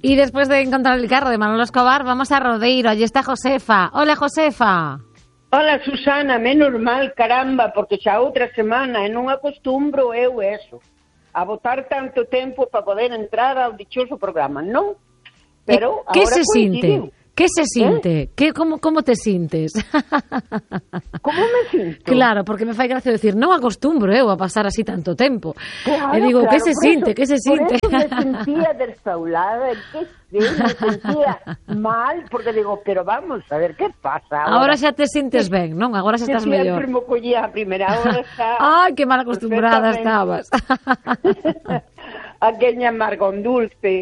Y después de encontrar el carro de Manolo Escobar, vamos a Rodeiro. Allí está Josefa. Hola, Josefa. Hola, Susana, menos mal, caramba, porque xa outra semana e non acostumbro eu eso, a botar tanto tempo para poder entrar ao dichoso programa, non? Pero ¿Qué agora se coincidiu. siente? ¿Qué se siente? ¿Cómo te sientes? Como me sinto? Claro, porque me fai gracia decir, non acostumbro eu a pasar así tanto tempo. Claro, E digo, claro, que se por siente? eso, Que se siente? Por eso me sentía desfaulada, me sentía mal, porque digo, pero vamos, a ver, ¿qué pasa Agora xa te sintes ben, non? Agora xa estás mellor. Sempre me collía a primeira hora xa... Ai, que mal acostumbrada estabas. A queña amargón dulce.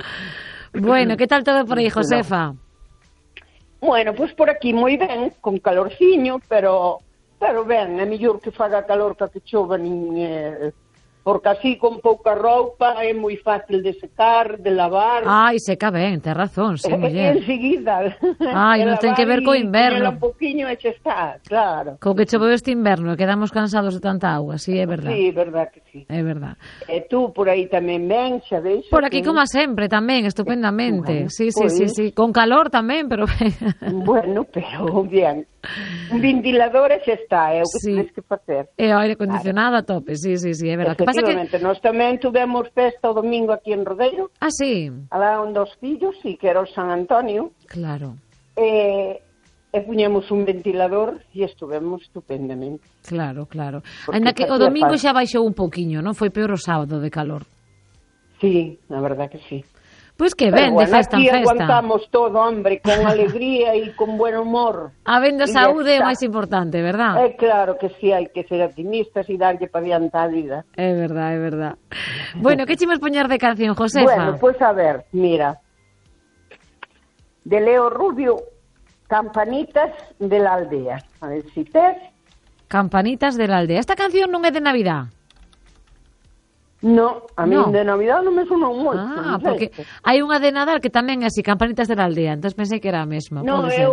Bueno, que tal todo por aí, Josefa? Bueno, pois por aquí moi ben, con calorciño, pero ben, é mellor que faga calor que chova porque así con pouca roupa é moi fácil de secar, de lavar. Ai, seca ben, tes razón, sí, muller. Enseguida. Ai, non ten que ver co inverno. Un poquinho e xa está, claro. Co que choveu este inverno e quedamos cansados de tanta auga, sí, é verdad. Sí, é verdad que sí. É verdad. E tú por aí tamén ben, xa veixo? Por aquí como sempre tamén, estupendamente. Bueno, Sí. pues... Con calor tamén, pero Bueno, pero bien. Un ventilador e xa está, é o que tens que facer. E o aire acondicionado a tope, sí, é verdad. Que pasa que nós tamén tuvemos festa o domingo aquí en Rodeiro. Ah, sí. Alá onde os fillos, sí, que era o San Antonio. Claro. E puñemos un ventilador e estuvemos estupendamente. Claro. Ainda que o domingo xa baixou un pouquiño, non? Foi peor o sábado de calor. Sí, a verdad que sí. Pois que ben, de festa en festa. Aquí aguantamos todo, hombre, con alegría e con buen humor. Habendo saúde é o máis importante, verdad? É claro que sí, hai que ser optimistas e darlle para diante a vida. É verdad. Bueno, que chimos poñer de canción, Josefa? Bueno, pois a ver, mira. De Leo Rubio, Campanitas de la Aldea. A ver si tes. Campanitas de la Aldea. Esta canción non é de Navidad? No, a mí de Navidad non me sonou moito. Porque hai unha de Nadal que tamén é así, Campanitas de la Aldea, entón pensei que era a mesma. Non, eu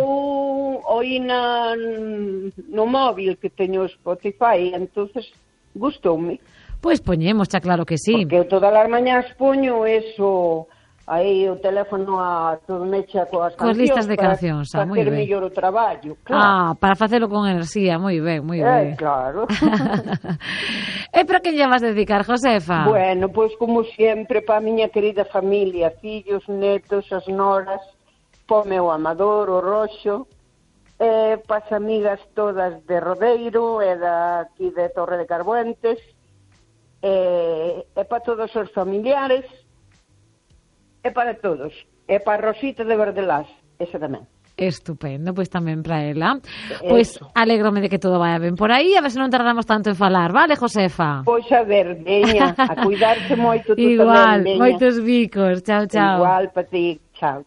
oí no móvil que teño Spotify, entonces gustoume. Pois poñemos, xa claro que sí. Porque eu todas as mañás poño eso, aí o teléfono a todo mecha coas cancións. Coas listas de cancións, para moi ben. facer mellor o traballo, claro. Para facelo con enerxía, moi ben. Claro. E para quen lle vas dedicar, Josefa? Bueno, pois como sempre, para a miña querida familia, fillos, netos, as noras, para o meu amador, o Roxo, para as amigas todas de Rodeiro e aquí de Torre de Carbuentes, e para todos os familiares, e para todos, e para Rosita de Verdelás, esa tamén. Estupendo, pois tamén para ela. Pois alégrome de que todo vaya ben por aí, a ver se non tardamos tanto en falar, vale, Josefa? Pois a ver, veña, a cuidarse moito tú igual, tamén, veña. Moitos bicos, chao. Igual para ti, chao.